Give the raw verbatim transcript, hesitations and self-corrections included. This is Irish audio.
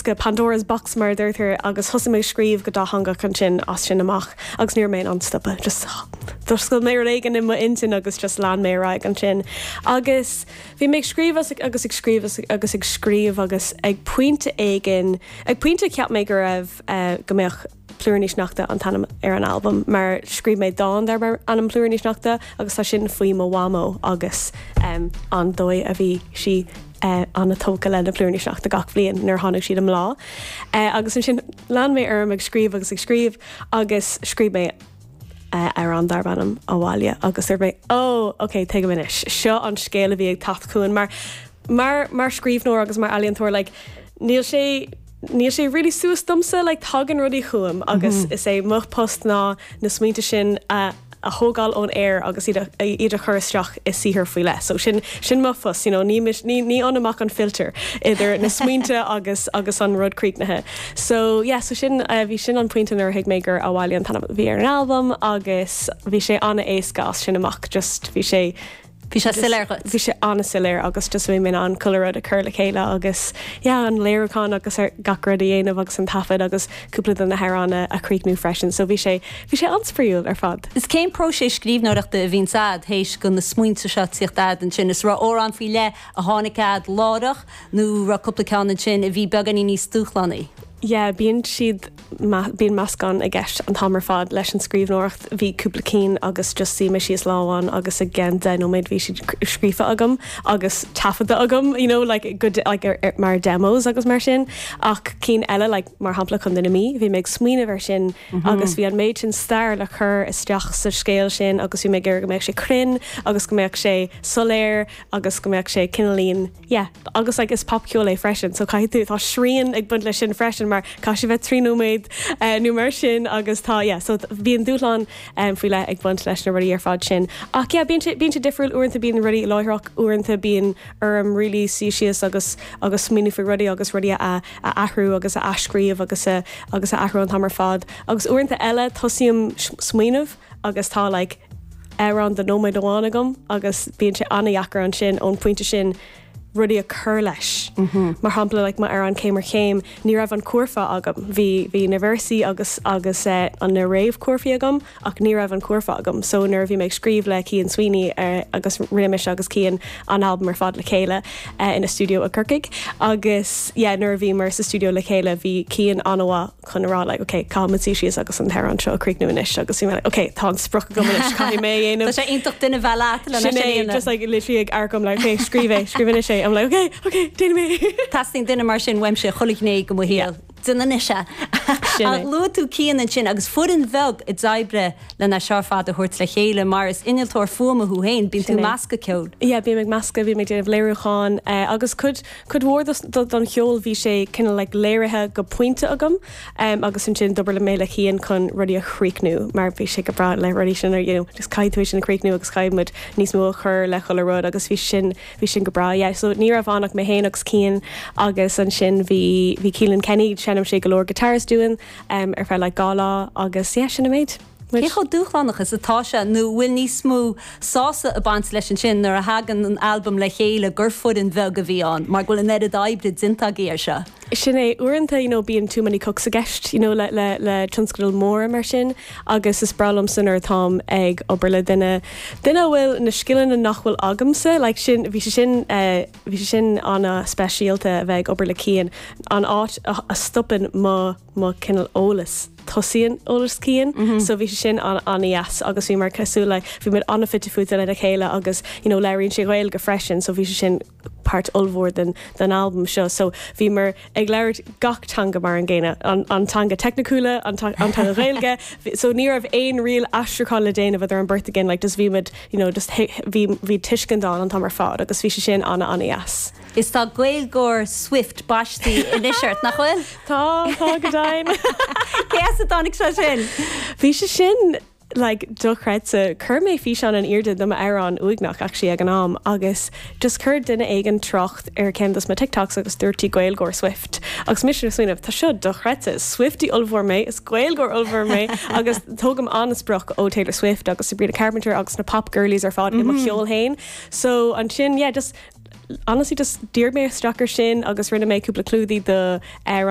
bosca, Pandora's box mar a deirtear, agus thosaigh mé scríobh go dátheangach ansin as sin amach agus ní raibh mé in ann stopadh. Just d'oscail mé rud éigin i m'intinn agus just lean mé ar aghaidh ansin. Agus bhí mé ag scríobh agus ag scríobh agus ag scríobh agus ag pointe éigin, ag pointe cheap mé go raibh uh, go mbeadh Plúiríní Sneachta an t-ainm ar an album, mar scríobh mé dán darb ainm Plúiríní Sneachta agus tá sin faoi mo mhamó agus um, an dóigh a bhí sí uh, an-tógtha le na plúiríní sneachta gach bliain nuair tháinig siad i mbláth. Uh, agus ansin lean mé orm ag scríobh agus ag scríobh agus scríobh mé uh, ar an darb ainm Abhaile agus ar mé ó ok tuigim anois seo an scéal a bhí ag teacht chugam mar mar mar scríbhneoir agus mar ealaíontóir like, níl sé níl sé really suas domsa like, tagann rudaí chugam agus mm -hmm. is é mo post ná na smaointe sin a a thógáil ón aer agus iad iad a chur isteach i saothar faoi leith. So sin sin mo phost you know, ní, ní, ní amach an filter idir na smaointe agus agus an rud críochnaithe. So yeah, so sin uh, bhí sin an pointe nuair thuig mé gur Abhaile an t-ainm bhí ar an album agus bhí sé an-éasca as sin amach just bhí sé Bhí sé soiléir. Bhí sé an-soiléir agus just bhí mé an chuile rud a chur le chéile agus yeah, an léiriúchán agus ar gach rud a dhéanamh agus an taifead agus cúpla de na hamhráin a chríochnú freisin, so bhí sé bhí sé an-spraíúil ar fad. Is cén próiseas scríbhneoireachta a bhíonn agat théis go na smaointe seo tíocht ansin is raibh amhrán faoi leith a tháinig chugat láithreach nó raibh cúpla ceann ansin a bhí beagáinín níos dúshlánaí. Yeah, bíonn siad bíonn meascán i gceist an t-am ar fad leis an scríbhneoireacht bhí cúpla cinn agus just suigh mé síos lá amháin agus i gceann deich nóiméad bhí siad scríofa agam agus taifeadta agam you know, like, good, like, er, er, mar demos agus mar sin ach cinn eile like, mar shampla Contae na Mí bhí mé ag smaoineamh ar sin mm -hmm. agus bhí an méid sin stair le chur isteach sa scéal sin agus bhí mé gur go mbeadh sé cruinn agus go mbeadh sé soiléir agus go mbeadh sé cineáilín yeah, agus like, is popcheol é freisin so caithfidh tú tá srian ag baint leis sin freisin mar caithfidh sé bheith trí nóiméad uh, nó mar sin agus tá yeah, so bíonn dúshlán um, faoi leith ag baint leis na rudaí ar fad sin. Ach yeah, bíonn sé difriúil uaireanta bíonn rudaí láithreach uaireanta bíonn orm really suí síos agus agus smaoineamh faoi rudaí agus rudaí a, a athrú agus a athscríobh agus a, agus a athrú an t-am ar fad. Agus uaireanta eile tosaím smaoineamh agus tá like, amhrán de nóiméad amháin agam agus bíonn sé an-deacair ansin ón pointe sin rudaí a chur leis. Mm -hmm. Mar shampla like, m'amhrán Céim ar Chéim, ní raibh an cúrfa agam. Bhí bhí na véarsaí agus agus uh, an na réamhchúrfaí agam ach ní raibh an cúrfa agam. So nuair bhí mé ag scríobh le Cian Sweeney uh, agus rinne mise agus Cian an album ar fad le chéile uh, ina studio i gCorcaigh. agus yeah, nuair bhí mar sa studio le chéile bhí Cian an-mhaith chun rá like, okay, caithfimid suí síos agus an t-amhrán seo críochnú anois agus bhí mé like, okay, tá an sprioc agam anois caithfidh mé dhéanamh. Tá sé iontach duine bheith leat le just like literally ag amharc like, okay, scríobh é, scríobh anois é. I'm like, okay, okay, déanfaidh mé. Teastaíonn duine mar sin uaimse chuile ghné de mo shaol. Déan anois é. Luaigh tú Cian ansin agus foireann bheag a d'oibrigh lena seo fad a thabhairt le chéile mar is innealtóir fuaime thú féin, bíonn tú meascadh ceol. Yeah, bím ag meascadh, bím ag déanamh léiriúcháin uh, agus cuid cuid mhór don cheol bhí sé cineál like, léirithe go pointe agam um, agus ansin d'oibrigh mé le Cian chun rudaí a chríochnú mar bhí sé go breá le rudaí sin you know, just caithfidh tú sin a chríochnú agus caithfimid níos mó a chur le chuile rud agus bhí sin bhí sin go breá yeah. so ní raibh ann ach mé féin agus Cian agus ansin bhí bhí Keelan Kenny seinm sé go leor guitars dúinn um, ar feadh like, dhá lá agus yeah, sin an méid. Cé chomh dúshlánach is atá sé nó bhfuil níos mó sásamh ag baint leis ansin nuair a thagann an album le chéile gur foireann bheag a bhí ann, mar go bhfuil an oiread oibre déanta agaibh air seo. Sin é uaireanta you know, bíonn too many cooks i gceist you know, le, le, le tionscadal mór mar sin agus is breá liomsa nuair atáim ag obair le duine duine bhfuil na scileanna nach bhfuil agamsa like sin bhí sé sin uh, bhí sé sin an-speisialta a bheith ag obair le Cian an áit a, a stopann mo mo cineál eolas tosaíonn eolas Cian mm -hmm. so bhí sé sin an an-deas agus bhí mar cosúil le bhí muid an-fhite fuaite le chéile agus you know, labhraíonn sé Gaeilge freisin so bhí sé sin páirt ollmhór den den album seo so bhí mar ag labhairt gach teanga mar an gcéanna an, an teanga teicniúla an, an teanga Ghaeilge so ní raibh aon real aistriúchán le déanamh idir an bheirt againn like just bhí muid you know, just bhí bhí tuiscint an t-am ar fad agus bhí sé sin an an-deas. Is tá Gaeilgeoir Swift baiste anois ort nach bhfuil? Tá tá go deimhin. Cé as a dtáinig sé sin? Bhí sé sin like dochreidte chuir mé físeán in airde do m'amhrán Uaigneach actually ag an am agus just chuir duine éigin trácht ar ceann dos na TikToks agus dúirt Gaeilgeoir Swift agus mise ag smaoineamh tá seo dochreidte Swiftie ollmhór mé is Gaeilgeoir ollmhór mé agus tógaim an-sprioc ó Taylor Swift agus Sabrina Carpenter agus na pop girlies ar fad mm -hmm. i mo mhm. cheol féin so ansin yeah just honestly just d'iarr mé isteach ar sin agus rinne mé cúpla clúdaigh do ar